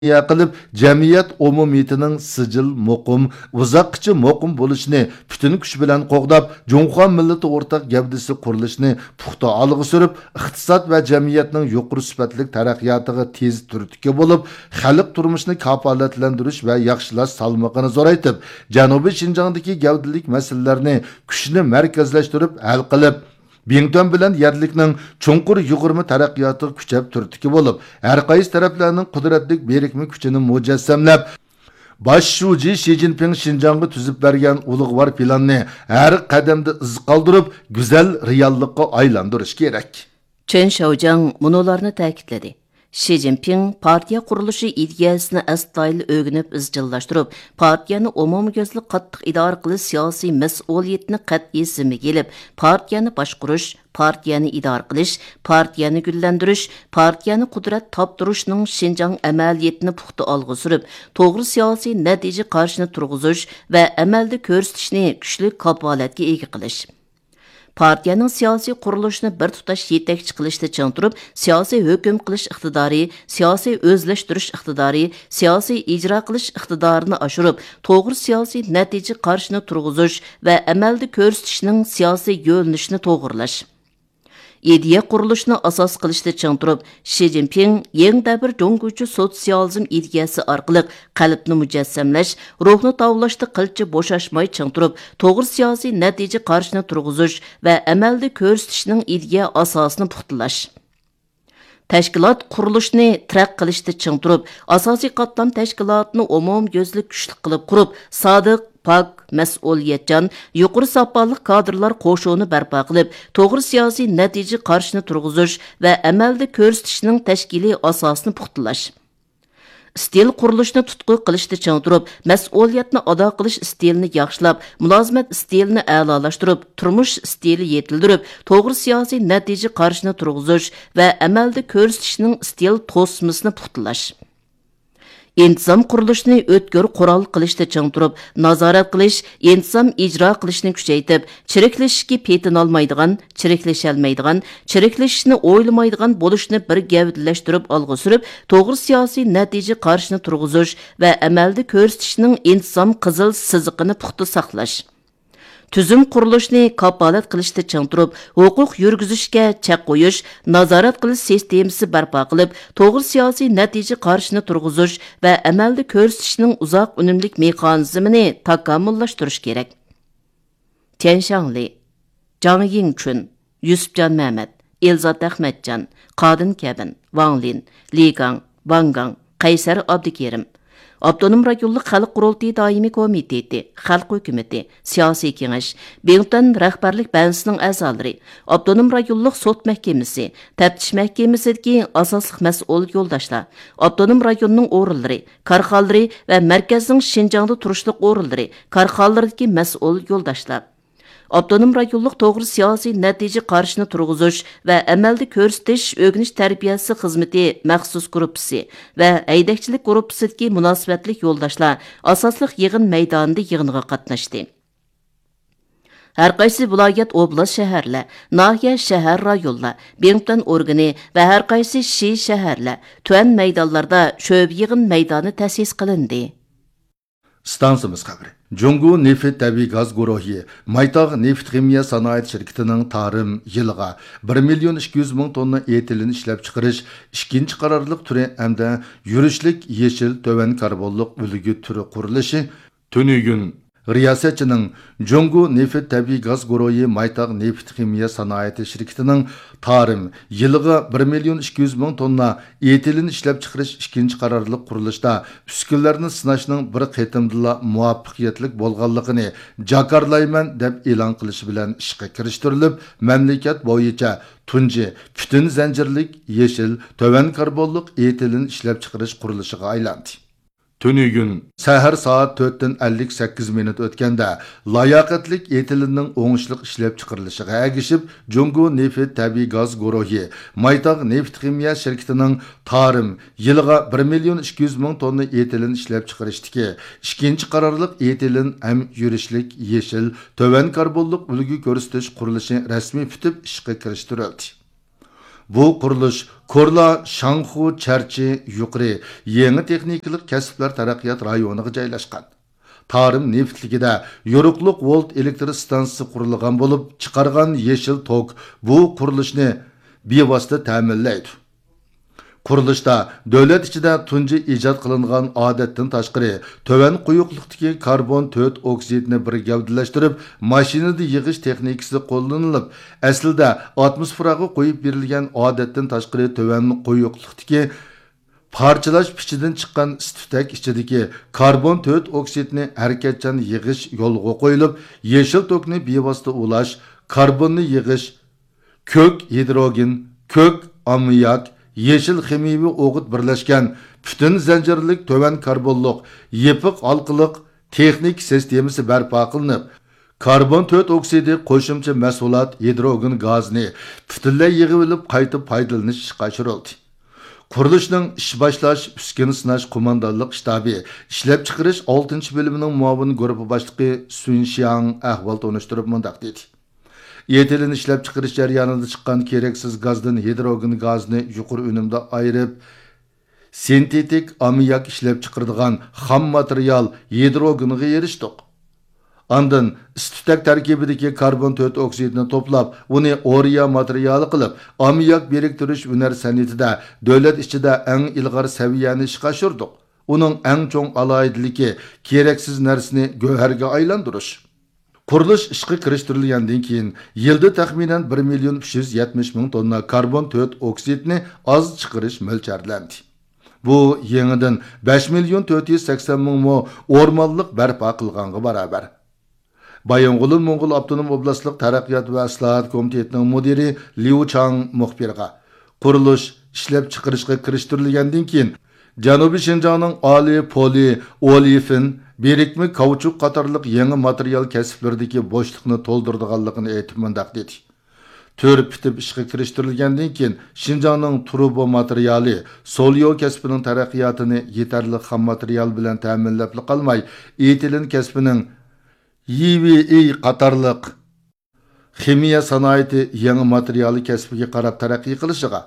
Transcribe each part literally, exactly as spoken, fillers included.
قىلىپ، جەمئىيەت ئومۇمىيىتىنىڭ سىجىل مۇقىم، ئۇزاققىچە مۇقىم بولۇشىنى پۈتۈن كۈچ بىلەن قوغداپ، جۇڭخۇا مىللىتى ئورتاق گەۋدىسى قۇرۇلۇشىنى پۇختا ئالغا سۈرۈپ، ئىقتىساد ۋە جەمئىيەتنىڭ يۇقىرى سۈپەتلىك تەرەققىياتىغا تېز تۈرتكە بولۇپ، خەلق تۇرمۇشىنى كاپالەتلەندۈرۈش ۋە ياخشىلاش سالمىقىنى زورايتىپ، جەنۇبىي شىنجاڭدىكى گەۋدىلىك مەسىلىلەرنى كۈچنى مەركەزلەشتۈرۈپ ھەل قىلىپ، بىڭتۈەن بىلەن يەرلىكنىڭ چوڭقۇر يۇغۇرما تەرەققىياتىغا كۈچەپ تۈرتكە بولۇپ، ھەر قايسى تەرەپلەرنىڭ قۇدرەتلىك بىرىكمە كۈچىنى مۇجەسسەملەپ، باش شۇجى شى جىنپىڭ شىنجاڭغا تۈزۈپ بەرگەن ئۇلۇغۋار پىلاننى ھەر قەدەمدە ئىز قالدۇرۇپ، گۈزەل رېئاللىققا ئايلاندۇرۇش كېرەك. چېن شياۋجياڭ مۇنۇلارنى تەكىتلىدى. شى جىنپىڭ پارتىيە قۇرۇلۇشى ئىدىيەسىنى ئەستايىدىل ئۆگىنىپ ئىزچىللاشتۇرۇپ، پارتىيەنى ئومۇميۈزلۈك قاتتىق ئىدارە قىلىش سىياسىي مەسئۇلىيىتىنى قەتئىي زىممىگە ئېلىپ، پارتىيەنى باشقۇرۇش، پارتىيەنى ئىدارە قىلىش، پارتىيەنى گۈللەندۈرۈش، پارتىيەنى قۇدرەت تاپتۇرۇشنىڭ شىنجاڭ ئەمەلىيىتىنى پۇختا ئالغا سۈرۈپ، توغرا سىياسىي نەتىجە قارىشىنى تۇرغۇزۇش ۋە ئەمەلدە كۆرسىتىشنى كۈچلۈك كاپالەتكە ئىگە قىلىش. پارتىيەنىڭ سىياسىي قۇرۇلۇشىنى بىر تۇتاش يېتەكچى قىلىشتا چىڭ تۇرۇپ، سىياسىي ھۆكۈم قىلىش ئىقتىدارى، سىياسىي ئۆزلەشتۈرۈش ئىقتىدارى، سىياسىي ئىجرا قىلىش ئىقتىدارىنى ئاشۇرۇپ، توغرا سىياسىي نەتىجە قارىشىنى تۇرغۇزۇش ۋە ئەمەلدە كۆرسىتىشنىڭ سىياسىي يۆنىلىشىنى توغرىلاش. ئىدىيە قۇرۇلۇشىنى ئاساس قىلىشتا چىڭ تۇرۇپ، شى جىنپىڭ يېڭى دەۋر جۇڭگوچە سوتسىيالىزم ئىدىيەسى ئارقىلىق قەلبنى مۇجەسسەملەش، روھنى تاۋلاشتا قىلچە بوشاشماي چىڭ تۇرۇپ، توغرا سىياسىي نەتىجە قارىشىنى تۇرغۇزۇش ۋە ئەمەلدە كۆرسىتىشنىڭ ئىدىيە ئاساسىنى پۇختىلاش. تەشكىلات قۇرۇلۇشىنى تەرەققىي قىلىشتا چىڭ تۇرۇپ، ئاساسىي قاتلام تەشكىلاتىنى ئومۇميۈزلۈك كۈچلۈك قىلىپ قۇرۇپ، سادىق، پاك، مەسئۇلىيەتچان، يۇقىرى ساپالىق كادىرلار قوشۇنى بەرپا قىلىپ، توغرا سىياسىي نەتىجە قارىشىنى تۇرغۇزۇش ۋە ئەمەلدە كۆرسىتىشنىڭ تەشكىلىي ئاساسىنى پۇختىلاش. ئىستىل قۇرۇلۇشىنى تۇتقا قىلىشتا چىڭ تۇرۇپ، مەسئۇلىيەتنى ئادا قىلىش ئىستىلىنى ياخشىلاپ، مۇلازىمەت ئىستىلىنى ئەلالاشتۇرۇپ، تۇرمۇش ئىستىلى يېتىلدۈرۈپ، توغرا سىياسىي نەتىجە قارىشىنى تۇرغۇزۇش ۋە ئەمەلدە كۆرسىتىشنىڭ ئىستىل توسمىسىنى پۇختىلاش. ئىنتىزام قۇرۇلۇشىنى ئۆتكۈر قورال قىلىشتا چىڭ تۇرۇپ، نازارەت قىلىش، ئىنتىزام ئىجرا قىلىشنى كۈچەيتىپ، چىرىكلىشىشكە پېتىنالمايدىغان، چىرىكلىشەلمەيدىغان، چىرىكلىشىشنى ئويلىمايدىغان بولۇشنى بىر گەۋدىلەشتۈرۈپ ئالغا سۈرۈپ، توغرا سىياسىي نەتىجە قارىشىنى تۇرغۇزۇش ۋە ئەمەلدە كۆرسىتىشنىڭ ئىنتىزام قىزىل سىزىقىنى پۇختا ساقلاش. تۈزۈم قۇرۇلۇشىنى كاپالەت قىلىشتا چىڭ تۇرۇپ، ھوقۇق يۈرگۈزۈشكە چەك قويۇش، نازارەت قىلىش سىستېمىسى بەرپا قىلىپ، توغرا سىياسىي نەتىجە قارىشىنى تۇرغۇزۇش ۋە ئەمەلدە كۆرسىتىشنىڭ ئۇزاق ئۈنۈملۈك مېخانىزمىنى تاكامۇللاشتۇرۇش كېرەك. تيەن شاڭلى، جاڭ يىڭچۈن، يۈسۈپجان مەمەت، ئېلزات ئەخمەتجان، قادىن كەۋىن، ۋاڭ لىن، لى گاڭ، ۋاڭ گاڭ، قەيسەر ئابدۇكېرىم. ئاپتونوم رايونلۇق خەلق قۇرۇلتىيى دائىمىي كومىتېتى، خەلق ھۆكۈمىتى، سىياسىي كېڭەش، بىڭتۈەن رەھبەرلىك بەنزىسىنىڭ ئەزالىرى، ئاپتونوم رايونلۇق سوت مەھكىمىسى، تەپتىش مەھكىمىسىدىكى ئاساسلىق مەسئۇل يولداشلار، ئاپتونوم رايوننىڭ ئورۇنلىرى، كارخانىلىرى ۋە مەركەزنىڭ شىنجاڭدا تۇرۇشلۇق ئورۇنلىرى، كارخانىلىرىدىكى مەسئۇل يولداشلار. ئاپتونوم رايونلۇق توغرا سىياسىي نەتىجە قارىشىنى تۇرغۇزۇش ۋە ئەمەلدە كۆرسىتىش ئۆگىنىش تەربىيەسى خىزمىتى مەخسۇس گۇرۇپپىسى ۋە ھەيدەكچىلىك گۇرۇپپىسىدىكى مۇناسىۋەتلىك يولداشلار ئاساسلىق يىغىن مەيدانىدا يىغىنغا قاتناشتى. ھەرقايسى ۋىلايەت، ئوبلاست، شەھەرلەر، ناھىيە، شەھەر، رايونلار، بىڭتۈەن ئورگىنى ۋە ھەرقايسى شى، شەھەرلەر، تۈەن مەيدانلاردا شۆبە يىغىن مەيدانى تەسىس قىلىندى. ئىستانسىمىز خەۋىرى. جۇڭگو نېفىت تەبىئىي گاز گۇرۇھى مايتاغ نېفىت خىمىيە سانائەت شىركىتىنىڭ تارىم يىلىغا بىر مىليون ئىككى يۈز مىڭ توننا ئېتىلېن ئىشلەپچىقىرىش ئىككىنچى قارارلىق تۈرى ھەمدە يۈرۈشلۈك يېشىل تۆۋەن كاربونلۇق ئۈلگە تۈرى قۇرۇلۇشى تۈنۈگۈن رىياسەتچىنىڭ جۇڭگو نېفىت تەبىئىي گاز گۇرۇھى مايتاغ نېفىت خىمىيە سانائىتى شىركىتىنىڭ تارىم يىلىغا بىر مىليون ئىككى يۈز مىڭ توننا ئېتىلېن ئىشلەپچىقىرىش ئىككىنچى قارارلىق قۇرۇلۇشتا ئۈسكۈنىلەرنى سىناشنىڭ بىر قېتىمدىلا مۇۋەپپەقىيەتلىك بولغانلىقىنى جاكارلايمەن دەپ ئېلان قىلىشى بىلەن ئىشقا كىرىشتۈرۈلۈپ، مەملىكەت بويىچە تۇنجى پۈتۈن زەنجىرلىك يېشىل تۆۋەن كاربونلۇق ئېتىلېن ئىشلەپچىقىرىش قۇرۇلۇشىغا ئايلاندى. تۈنۈگۈن سەھەر سائەت تۆتتىن ئەللىك سەككىز مىنۇت ئۆتكەندە، لاياقەتلىك ئېتىلېننىڭ ئوڭۇشلۇق ئىشلەپچىقىرىلىشىغا ئەگىشىپ، جۇڭگو نېفىت تەبىئىي گاز گۇرۇھى مايتاغ نېفىت خىمىيە شىركىتىنىڭ تارىم يىلىغا بىر مىليون ئىككى يۈز مىڭ توننا ئېتىلېن ئىشلەپچىقىرىشتىكى ئىككىنچى قارارلىق ئېتىلېن ھەم يۈرۈشلۈك يېشىل تۆۋەن كاربونلۇق ئۈلگە كۆرسىتىش قۇرۇلۇشى رەسمىي پۈتۈپ ئىشقا كىرىشتۈرۈلدى. بۇ قۇرۇلۇش كورلا شاڭخۇ چەرچى يۇقىرى يېڭى تېخنىكىلىق كەسىپلەر تەرەققىيات رايونىغا جايلاشقان. تارىم نېفىتلىكىدە يورۇقلۇق ۋولت ئېلېكتر ئىستانسىسى قۇرۇلغان بولۇپ، چىقارغان يېشىل توك بۇ قۇرۇلۇشنى بىۋاسىتە تەمىنلەيدۇ. قۇرۇلۇشتا دۆلەت ئىچىدە تۇنجى ئىجاد قىلىنغان ئادەتتىن تاشقىرى تۆۋەن قويۇقلۇقتىكى كاربون تۆت ئوكسىدنى بىر گەۋدىلەشتۈرۈپ، ماشىنىدا يىغىش تېخنىكىسى قوللىنىلىپ، ئەسلىدە ئاتموسفېراغا قويۇپ بېرىلگەن ئادەتتىن تاشقىرى تۆۋەن قويۇقلۇقتىكى پارچىلاش پېچىدىن چىققان ئىس-تۈتەك ئىچىدىكى كاربون تۆت ئوكسىدنى ھەرىكەتچان يىغىش يولغا قويۇلۇپ، يېشىل توكنى بىۋاسىتە ئۇلاش، كاربوننى يىغىش، كۆك ھىدروگېن، كۆك ئاممىياك، يېشىل خىمىيەۋى ئوغۇت بىرلەشكەن پۈتۈن زەنجىرلىك تۆۋەن كاربونلۇق يېپىق ھالقىلىق تېخنىكا سىستېمىسى بەرپا قىلىنىپ، كاربون تۆت ئوكسىدى قوشۇمچە مەھسۇلات ھىدروگېن گازىنى پۈتۈنلەي يىغىۋېلىپ قايتا پايدىلىنىش ئىشقا ئاشۇرۇلدى. قۇرۇلۇشنىڭ ئىش باشلاش، ئۈسكۈنە سىناش قوماندانلىق شتابى ئىشلەپچىقىرىش ئالتىنچى بۆلۈمىنىڭ مۇئاۋىن گۇرۇپپا باشلىقى سۈن شياڭ ئەھۋال تونۇشتۇرۇپ مۇنداق دېدى: ئېتىلېن ئىشلەپچىقىرىش جەريانىدا چىققان كېرەكسىز گازدىن ھىدروگېن گازىنى يۇقىرى ئۈنۈمدە ئايرىپ، سىنتېتىك ئاممىياك ئىشلەپچىقىرىدىغان خام ماتېرىيال ھىدروگېنغا ئېرىشتۇق. ئاندىن ئىس-تۈتەك تەركىبىدىكى كاربون تۆت ئوكسىدنى توپلاپ، ئۇنى ئورىيا ماتېرىيالى قىلىپ، ئاممىياك بىرىكتۈرۈش ھۈنەر سەنئىتىدە دۆلەت ئىچىدە ئەڭ ئىلغار سەۋىيەنى ئىشقا ئاشۇردۇق. ئۇنىڭ ئەڭ چوڭ ئالاھىدىلىكى كېرەكسىز نەرسىنى گۆھەرگە ئايلاندۇرۇش. قۇرۇلۇش ئىشقا كىرىشتۈرۈلگەندىن كېيىن، يىلدا تەخمىنەن بىر مىليون ئۈچ يۈز يەتمىش مىڭ توننا كاربون تۆت ئوكسىدنى ئاز چىقىرىش مۆلچەرلەندى. بۇ يېڭىدىن بەش مىليون تۆت يۈز سەكسەن مىڭ مو ئورمانلىق بەرپا قىلغانغا باراۋەر. بايىنغولىن موڭغۇل ئاپتونوم ئوبلاستلىق تەرەققىيات ۋە ئىسلاھات كومىتېتىنىڭ مۇدىرى ليۇ چاڭ مۇخبىرغا، قۇرۇلۇش ئىشلەپچىقىرىشقا كىرىشتۈرۈلگەندىن كېيىن، جەنۇبىي شىنجاڭنىڭ ئالى پولى ئولېفىن، بىرىكمە كاۋچۇك قاتارلىق يېڭى ماتېرىيال كەسىپلىرىدىكى بوشلۇقنى تولدۇرىدىغانلىقىنى ئېيتىپ مۇنداق دېدى: تۈر پۈتۈپ ئىشقا كىرىشتۈرۈلگەندىن كېيىن، شىنجاڭنىڭ تۇرۇبا ماتېرىيالى، سوليو كەسپىنىڭ تەرەققىياتىنى يېتەرلىك خام ماتېرىيال بىلەن تەمىنلەپلا قالماي، ئېتىلېن كەسپىنىڭ يىۋېئېي قاتارلىق خىمىيە سانائىتى يېڭى ماتېرىيالى كەسپىگە قاراپ تەرەققىي قىلىشىغا،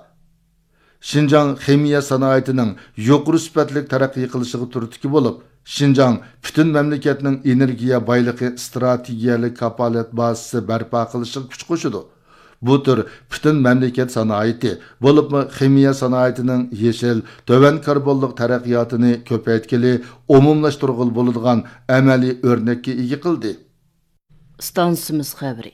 شىنجاڭ خىمىيە سانائىتىنىڭ يۇقىرى سۈپەتلىك تەرەققىي قىلىشىغا تۈرتكە بولۇپ، شىنجاڭ پۈتۈن مەملىكەتنىڭ ئېنېرگىيە بايلىقى ئىستراتېگىيەلىك كاپالەت بازىسى بەرپا قىلىشىغا كۈچ قوشىدۇ. بۇ تۈر پۈتۈن مەملىكەت سانائىتى، بولۇپمۇ خىمىيە سانائىتىنىڭ يېشىل، تۆۋەن كاربونلۇق تەرەققىياتىنى كۆپەيتكىلى، ئومۇملاشتۇرغىلى بولىدىغان ئەمەلىي ئۆرنەككە ئىگە قىلدى. ئىستانسىمىز خەۋىرى.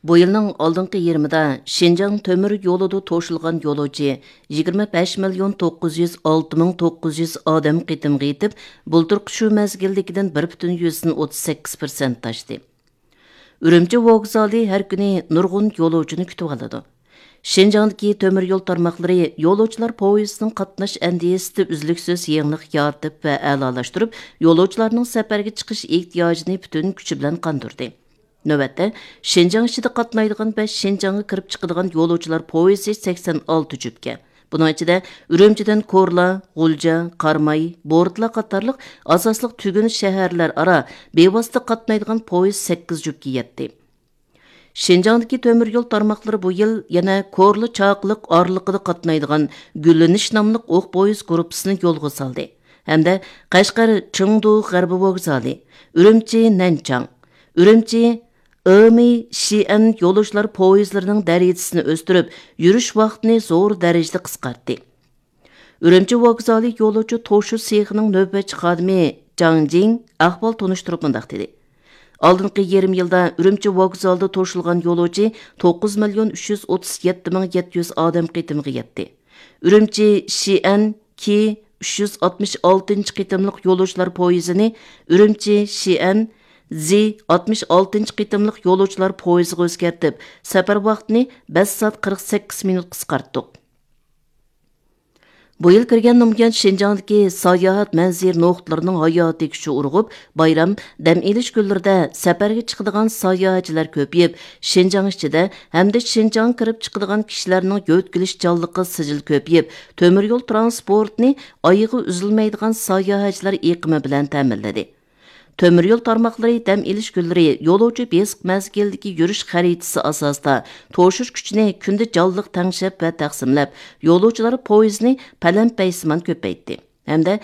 بۇ يىلنىڭ ئالدىنقى يېرىمىدا شىنجاڭ تۆمۈر يولىدا توشۇلغان يولۇچى يىگىرمە بەش مىليون توققۇز يۈز ئالتە مىڭ توققۇز يۈز ئادەم قېتىمغا يېتىپ، بۇلتۇرقى شۇ مەزگىلدىكىدىن بىر پۈتۈن يۈزدىن ئوتتۇز سەككىز پىرسەنت ئاشتى. ئۈرۈمچى ۋوگزالى ھەر كۈنى نۇرغۇن يولۇچىنى كۈتۈۋالىدۇ. شىنجاڭدىكى تۆمۈر يول تارماقلىرى يولۇچىلار پويىزىنىڭ قاتناش ئەندىزىسىدە ئۈزلۈكسىز يېڭىلىق يارىتىپ ۋە ئەلالاشتۇرۇپ، يولۇچىلارنىڭ سەپەرگە چىقىش ئېھتىياجىنى پۈتۈن كۈچى بىلەن قاندۇردى. نۆۋەتتە، شىنجاڭ ئىچىدە قاتنايدىغان ۋە شىنجاڭغا كىرىپ چىقىدىغان يولۇچىلار پويىزى سەكسەن ئالتە جۈپكە. بۇنىڭ ئىچىدە ئۈرۈمچىدىن كورلا، غۇلجا، قاراماي، بورتلا قاتارلىق ئاساسلىق تۈگۈن شەھەرلەر ئارا بىۋاسىتە قاتنايدىغان پويىز سەككىز جۈپكە يەتتى. شىنجاڭدىكى تۆمۈر يول تارماقلىرى بۇ يىل يەنە كورلا چاقىلىق ئارىلىقىدا قاتنايدىغان گۈللىنىش ناملىق ئوق پويىز گۇرۇپپىسىنى يولغا سالدى ھەمدە قەشقەر چېڭدۇ غەربىي ۋوگزالى، ئۈرۈمچى نەنچاڭ، ئۈرۈمچى ئېمى شىئەن يولۇچىلار پويىزلىرىنىڭ دەرىجىسىنى ئۆستۈرۈپ، يۈرۈش ۋاقتىنى زور دەرىجىدە قىسقارتتى. ئۈرۈمچى ۋوگزالى يولۇچى توشۇ سېخىنىڭ نۆۋەتچى خادىمى جاڭ جىڭ ئەھۋال تونۇشتۇرۇپ مۇنداق دېدى: ئالدىنقى يېرىم يىلدا ئۈرۈمچى ۋوگزالىدا توشۇلغان يولۇچى توققۇز مىليون ئۈچ يۈز ئوتتۇز يەتتە مىڭ يەتتە يۈز ئادەم قېتىمىغا يەتتى. ئۈرۈمچى شىئەن كى ئۈچ يۈز ئاتمىش ئالتىنچى قېتىملىق يولۇچىلار پويىزىنى ئۈرۈمچى شىئەن زى ئاتمىش ئالتىنچى قېتىملىق يولۇچىلار پويىزىغا ئۆزگەرتىپ، سەپەر ۋاقتىنى بەش سائەت قىرىق سەككىز مىنۇت قىسقارتتۇق. بۇ يىل كىرگەندىن بۇيان، شىنجاڭدىكى ساياھەت مەنزىرە نۇقتىلىرىنىڭ ھاياتىي كۈچى ئۇرغۇپ، بايرام، دەم ئېلىش كۈنلىرىدە سەپەرگە چىقىدىغان ساياھەتچىلەر كۆپىيىپ، شىنجاڭ ئىچىدە ھەمدە شىنجاڭغا كىرىپ چىقىدىغان كىشىلەرنىڭ يۆتكىلىشچانلىقى سىجىل كۆپىيىپ، تۆمۈر يول ترانسپورتىنى ئايىغى ئۈزۈلمەيدىغان ساياھەتچىلەر ئېقىمى بىلەن تەمىنلىدى. تۆمۈر يول تارماقلىرى دەم ئېلىش كۈنلىرى يولۇچى بېسىق مەزگىلدىكى يۈرۈش خەرىتىسى ئاساسىدا توشۇش كۈچىنى كۈندە جانلىق تەڭشەپ ۋە تەقسىملەپ، يولۇچىلار پويىزنى پەلەمپەيسىمان كۆپەيتتى ھەمدە